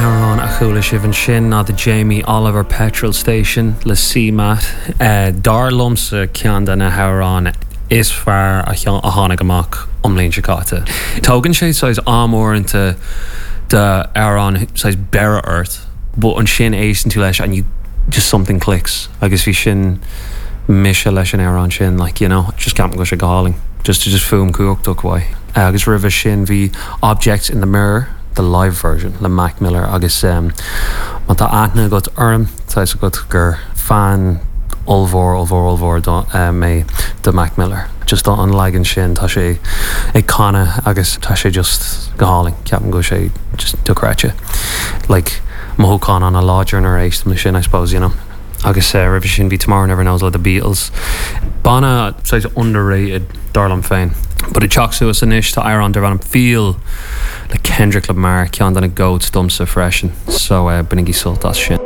amhrán a chuala sibh ansin ná The Jamie Oliver Petrol Station le CMAT. Dar liomsa ceann de na hamhráin is fearr a tháinig amach an bhliain seo caite. Tógann sé saghas am uaireanta d'amhrán saghas beireadh ort but ansin éisteann tú leis and you just something clicks agus bhí sin mise leis an amhrán sin like you know just ceapaim go bhfuil sé go hálainn just just fuaim cumhachtach uaidh. Agus roimhe sin bhí Objects in the Mirror, the live version le Mac Miller agus má tá aithne agat orm tá fhios agat gur fan ollmhór ollmhór ollmhór mé de Mac Miller. Just an leagan sin tá sé ag canadh agus tá sé just go hálainn ceapaim go bhfuil sé just dochreidte. Like mothúchán an-láidir nuair a éistim leis sin I suppose you know. Agus roimhe sin bhí Tomorrow Never Knows le The Beatles. Banna saghas underrated dar liom féin. But ag teacht suas anois tá amhrán darb ainm Feel le Kendrick Lamar, ceann de na GOATs domsa freisin. So bainigí sult as sin.